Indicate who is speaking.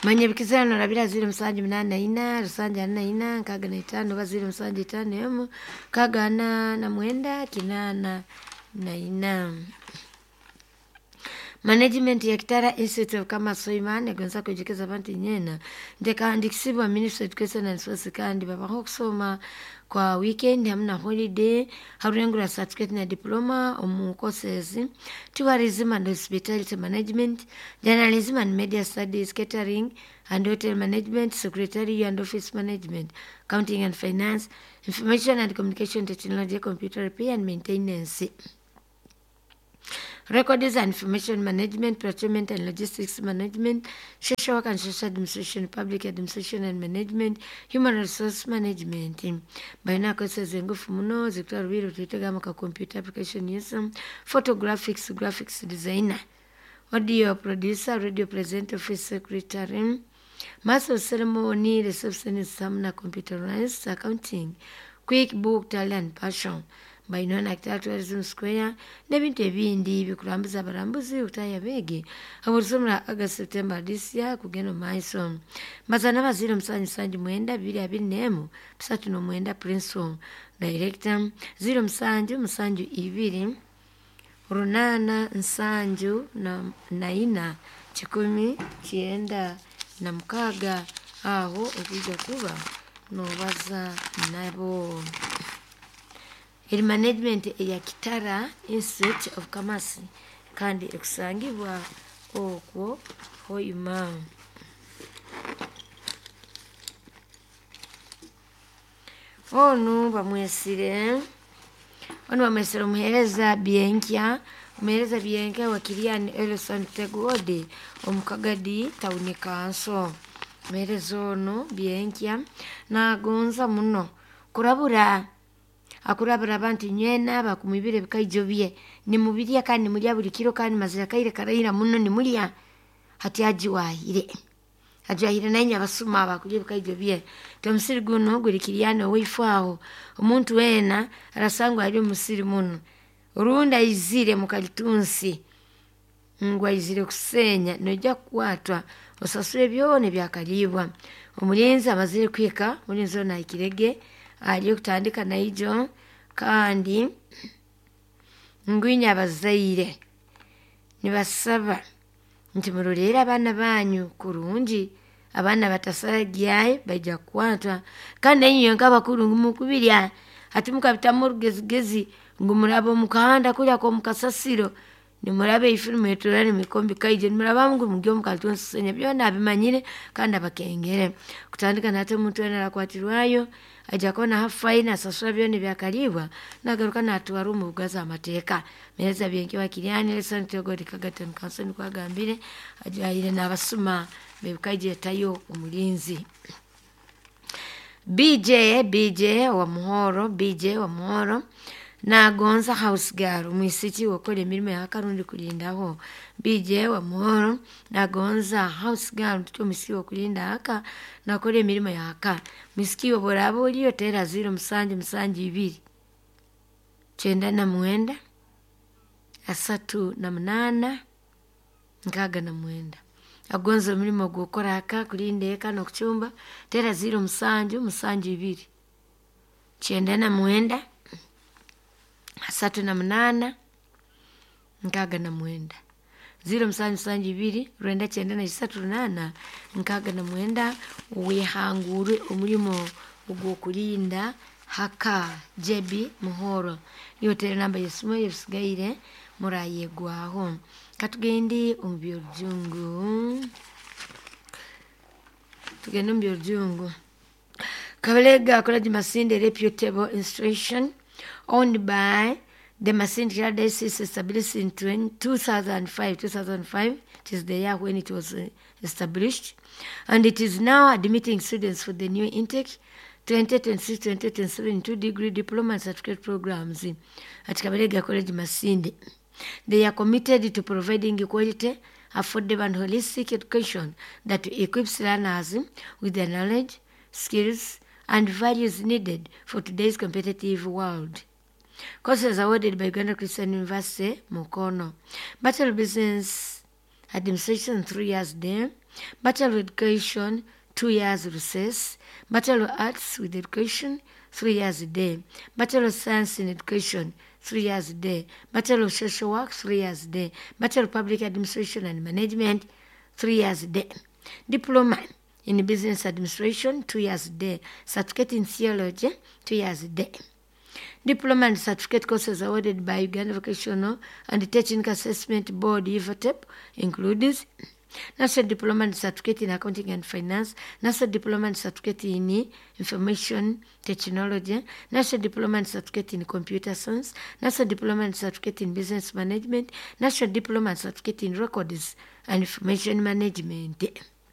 Speaker 1: Manya ebikizirano rabira 0784 744 65 oba 0751 649 84. Management ya Kitara Institute of Commerce Soimane egonza kujikeza abantu nyena ndekahandikisibwa Ministry of Education and Sports, kandi babaho okusoma kwa weekend hamwe na holiday, harurengura certificate na diploma omu courses tourism and hospitality management, journalism and media studies, catering and hotel management, secretary and office management, accounting and finance, information and communication technology, computer repair and maintenance, records and information management, procurement and logistics management, social work and social administration, public administration and management, human resource management. Balina courses engufu muno zikutwara rubiri tutegama ka computer application use, photographics, graphics designer, audio producer, radio presenter, office secretary, master of ceremony, receptionist hamwe na computerized accounting, quick book, tally and passion. Bainona na Kitara Tourism Square n'ebintu ebindi bikurambuza abarambuzi okutaya beegi obulisomera August September this year kugenda omu maiso. Mbazana ba 0779 221 39 Principal Director 0772 874 196 aho okwija kuba nobaza nabo. Eri management eya Kitara Institute of Commerce kandi ekusangibwa okwo Hoima. Onu bamwesire omuheereza Byenkya, omuheereza Byenkya wa Kiriani Elson Tegwode omu Kagadi Town Council. Omuheereza onu Byenkya nagonza muno kurabura akurabura abantu nywena bakumwibira ebikaijo bye nimubirya kandi nimurya buli kiro kandi mazira kaire karaira muno nimurya hati ajiwahire ajiwahire nainywe abasuma bakurya ebikaijo bye. Ti omusiri guno guri Kiriani owaifu aho omuntu weena arasangwa ari omusiri muno orundi aizire mukalitunsi ngu aizire kusenya noija kukwatwa osasure byona ebyakaribwa. Omulinzi amazire kuhika, omulinzi onu ahikirege ari okutandika naijo kandi ngu inywe abazaire nibasaba nti muroleere abaana banyu kurungi, abaana batasaragyayo baija kukwatwa kandi nainywe nk'abakuru ngu mukubirya hati mukabitamu orugezigezi ngu muraba omu kahanda kuri ak'omu kasasiro nimuraba eifu nimwetooroora nimwika omu bikaija nimurabamu ngu muri omu kalitunsi kusenya byona abimanyire kandi abakengere. Kutandika nahati omuntu weena arakwatirwayo aija kuba naha fine asasura byona ebyakaribwa nagaruka natwarwa omu buga z'amateeka. Muheereza Byenkya wa Kiriani Elson Tegwode Kagadi Town Council nikwo agambire ajwaire n'abasuma b'ebikaija etayo omulinzi. BJ BJ wa Muhoro, BJ wa Muhoro nagonza house girl omwisiki wokora emirimo yaka rundi kulindaho. BJ wa Muhoro nagonza house girl tuti omwisiki wokulinda aka nakora emirimo yaka. Mwisiki obu oraaba oriyo teera 0772 99 38 69. Agonza omurimo gw'okukora aka kulinda eka n'okucumba teera 0772 99 38 69. 0772 993 869 wehangure omurimo ogw'okulinda haka JB Muhoro. Niyo teera namba y'esimu ebisigaire murayegwaho. Katugende omu by'orujungu. Tugende omu by'orujungu. Kabalega College Masindi reputable institution owned by the Masindi Diocese, established in 2005. 2005, it is the year when it was established, and it is now admitting students for the new intake 2026-2027 two degree, diploma and certificate programs at Kabalega College Masindi. They are committed to providing quality, affordable and holistic education that equips learners with the knowledge, skills and values needed for today's competitive world. Courses awarded by Uganda Christian University, Mukono. Bachelor of Business Administration, 3 years day, Bachelor of Education, 2 years recess, Bachelor of Arts with Education, 3 years day, Bachelor of Science in Education, 3 years day, Bachelor of Social Work, 3 years day, Bachelor of Public Administration and Management, 3 years day, Diploma in Business Administration, 2 years day, Certificate in Theology, 2 years day. Diploma and certificate courses awarded by Uganda Vocational and Technical Assessment Board, UVATEP, includes National Diploma and Certificate in Accounting and Finance, National Diploma and Certificate in Information Technology, National Diploma and Certificate in Computer Science, National Diploma and Certificate in Business Management, National Diploma and Certificate in Records and Information Management.